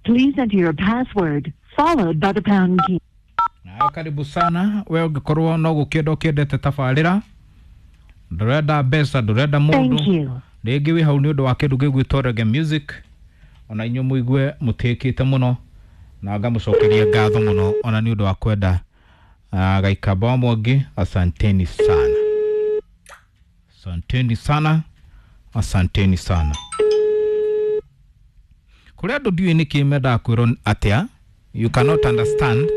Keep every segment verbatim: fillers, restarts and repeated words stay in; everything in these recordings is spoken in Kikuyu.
Please enter your password followed by the pound key. Nawe karibu sana we ũngĩkorwo no gũkĩenda ũkĩendete tabarĩra ndũrenda mbeca ndũrenda mũndũ Thank you. rĩngĩ wĩ hau nĩ ũndũ wa kĩndũ gĩgwĩtwo reggae music ona inyuĩ mũigue mũtĩkĩte mũno na ngamũcokeria ngatho mũno ona nĩ ũndũ wa kwenda uh, Gaikamba wa Mwangi asanteni sana asanteni sana asanteni sana kũrĩ andũ ndiũĩ nĩkĩ mendaga kwĩrwo atĩa you cannot understand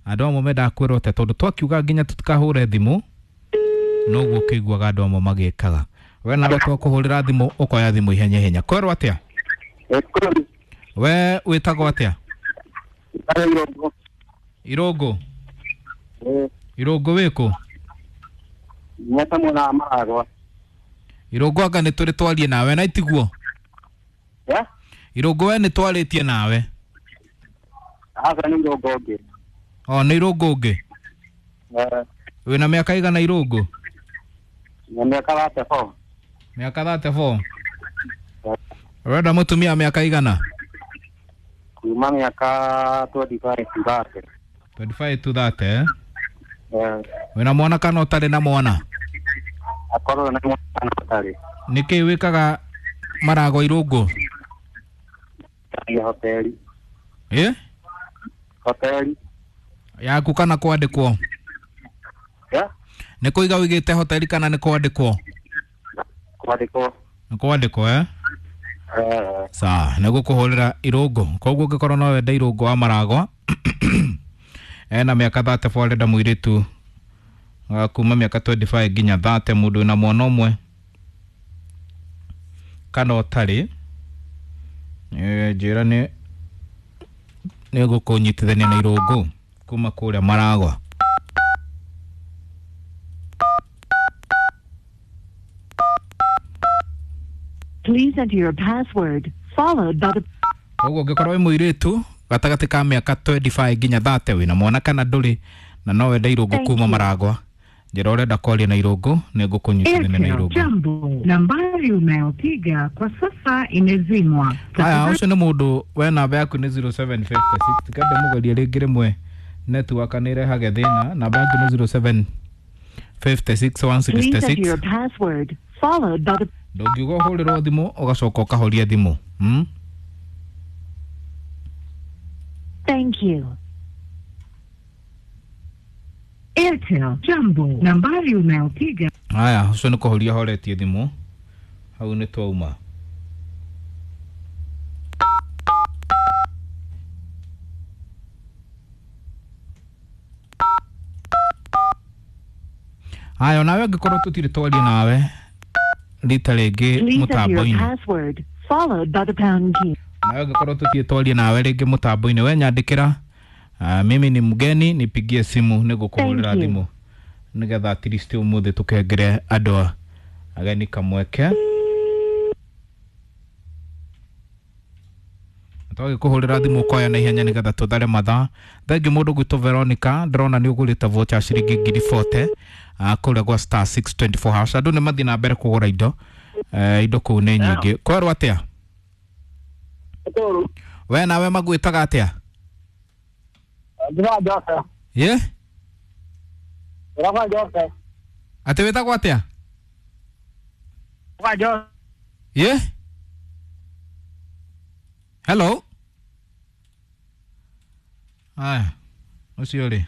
andũ amwe mendaga kwĩrwo atĩa tondũ twakiuga nginya tũtikahũre thimũ noguo ũkĩiguaga andũ amwe magĩkaga we nawe twakũhũrĩra thimũ ũkoya thimũ ihenya ihenya kwerwo atĩa we wĩtagwo atĩa irũngũ irũngũ wĩkũ Nyata mwena wa Maragwa. irũngũ anga nĩ tũrĩ twarie nawe na itiguo Ya? irũngũ we nĩ twarĩtie nawe Aca nĩ irũngũ ũngĩ. o nĩ irũngũ ũngĩ Eh, wĩna mĩaka igana irũngũ na mĩaka thate four. mĩaka thate four ũrenda mũtumia mĩaka igana Kuma mĩaka twenty five to thirty. twenty five to thirty eh? Eh, wĩna mwana kana ũtarĩ na mwana akorwo na mwana ũtarĩ. nĩkĩ wĩkaga marago irũngũ Nĩ hoteli. ĩ Hoteli. yaku kana kwandĩkwo Ya? nĩ kũiga ũigĩte hoteli kana nĩ kwandĩkwo Kwandĩkwo. nĩ kwandĩkwo eh? Eh, sawa nĩ gũkũhũrĩra irũngũ koguo ũngĩkorwo no wende irũngũ wa maragwa ena mĩaka thate four arenda mũirĩtu wa kuma mĩaka twenty five nginya thate mũndũ wĩna mwana ũmwe kana ũtarĩ Eh, njĩra nĩ nĩ gũkũnyitithania na irũngũ kuma kũrĩa maragwa Please enter your password followed by the koguo ũngĩkorwo wĩ mũirĩtu gatagatĩ ka mĩaka twenty five nginya thate wĩna mwana kana ndũrĩ na no wende irũngũ Thank kuma you. maragwa njĩra ũrenda kwaria na irũngũ nĩ ngũkũnyitithania na Airtel irũngũ jambo, nambari unayopiga kwa sasa imezimwa. haya Tafadhali ũcio nĩ mũndũ we namba yaku nĩ zero seven fifty six kende mũgerie rĩngĩ rĩmwe network nĩ ĩrehage thĩna namba yaku nĩ zero seven fifty six one Please sixty enter six your password followed by the ndũngiuga ũhũrĩrwo thimũ ũgacoka ũkahoria thimũ hmm? Thank you. Airtel jambo, nambari unayopiga haya ũcio nĩ kũhoria horetie thimũ hau nĩ twauma haya onawe angĩkorwo tũtirĩ twaria nawe rita rĩngĩ Please enter your mũtambo-inĩ password followed by the pound key. nawe angĩkorwo tũtirĩ twaria nawe rĩngĩ mũtambo-inĩ we nyandĩkĩra uh, mimi ni mgeni nipigie simu nĩngũkũhũrĩra Thank you. thimũ nĩgetha at least ũmũthĩ tũkengere andũ a- ageni kamweke twagĩkũhũrĩra thimũ ũkoya na ihenya nĩgetha tũthare mathaa thengiũ mũndũ gwĩtwo Veronica ndĩrona nĩ ũgũrĩte vocha ya ciringi ngiri bote uh, kũrĩa gwa star six twenty four hash andũ nĩ mathiĩ na mbere kũgũra indo uh, indo kũu nĩ nyingĩ kwerwo atĩa Tũru. we nawe magwĩtaga atĩa Ndĩra Joseph. ye Ndĩra Joseph. atĩ wĩtagwo atĩa Ndĩra Joseph. ye hello aya ũcio rĩ